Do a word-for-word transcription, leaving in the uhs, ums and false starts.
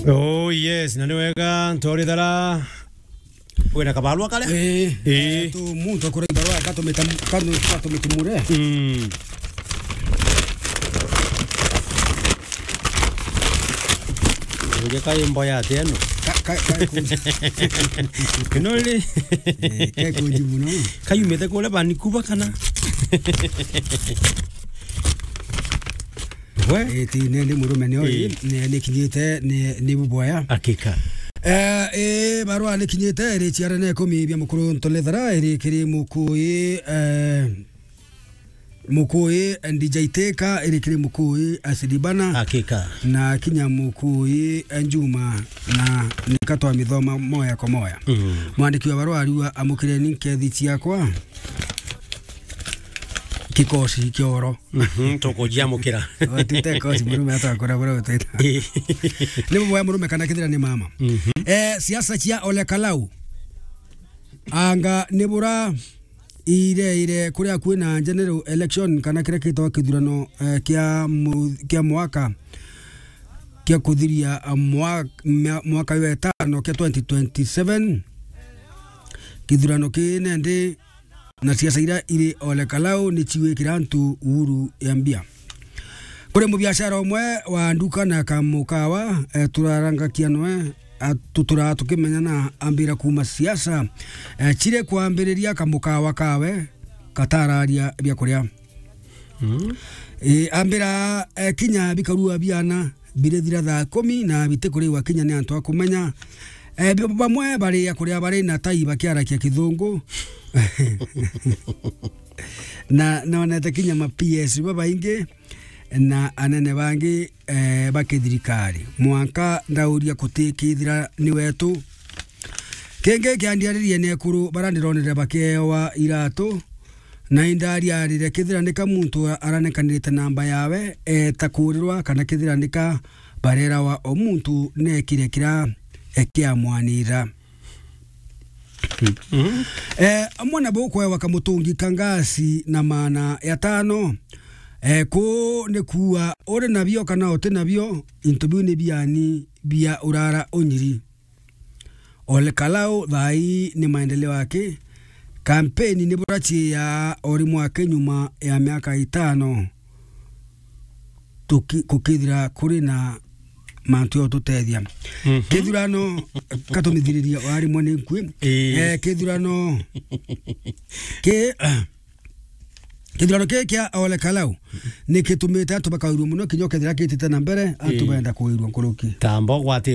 Oh yes, na ni wega ntori thara. Wina kabarua kare? Eh, Eh. eh, tu muntu akura ibarua, katumita-, katu-, katumitumure. Mm. Uje kai mboya ati eno. Ka-, ka-, ka-, ku- Ino ri? Eh, kai kunji muno. Kayumite kuria Vancouver kana? We? Eh, ti, ni, ni murume ni oi, Eh. ni, ni kinyite, ni, ni buboya. Hakika. Eh, eh, barua ni kinyite, iri ciara na ikumi bia mukuru Ntolethera, iri kiri Mukui, eh, Mukui, eh, D J Teka, iri kiri Mukui, eh, Sidibana. Hakika. Na kinya Mukui, eh, Njuma, na nika twamithoma moya kwa moya. Mm. Mwandiki wa barua ariuga, "Amukireni nkethi ciakwa." Kikosi kioro. Mhm, tukujiamukira. Watite kosi murume atakora bora uteta. Eh. Ni buboya murume kana kithira ni mama. Mhm. Eh, siasa cia Ole Kalau. Anga ni bura ire ire kuria kwina general election kana kiria kitwa kithurano, eh, kia mu-, kia mwaka kia kuthiria, eh, mwa-, mia-, mwaka wa itano kia twenty twenty-seven. Kithurano kii nendi na siasa iria iri Ole Kalau ni ciwikira antu uhuru ya mbia. Kuri mubiashara umwe wa nduka na kamukawa, eh, turarangakia nwe, eh, tuturaa tukimenya na ambira kuuma siasa, eh, cire kwambiriria kamukawa kawe katararia bia kuria. Mm. Eh, ambira, eh, kinya bikarua biana birithira thaa kumi na biti kuriwa kinya ni antu a kumenya. Eh, bi-, bamwe baria kuria bari na tai bakiarakia kithungu. Na nonete kinya ma P S babaingi na anene bangi, eh, ba kithirikari. Mwanka ndauria kuti kithira ni wetu. Kingi kiandiaririe ni ekuru bara ndironire bakiewa iratu, na indariarire kithira nika muntu aranekanirite namba yawe, eta kurirwa kana kithira nika barerawa o muntu nekire kira ekiamwanira. Mhm. Eh, amwe nabo kwewa kamutungi ka ngasi na maana ya tano. Eh, ku ni kuua uri nabio kana uti nabio, into biu ni biani bia urara unyiri. Ole Kalau thaa ii ni maendeleo yake. Kampeni ni burachiia o rimwe ake nyuma ya miaka itano tuki-, kukithira kuri na mantu ya ututethia. Mhm. Kithurano, katumithiriria wa rimwe ni nkui. Ii. Eh, kithurano ki-, kithurano kii kia Ole Kalau ni kitumite antu bakairua muno, kinya ukethira kitite na mbere, antu Ii. benda kuirua nkuruki. Tambo gwati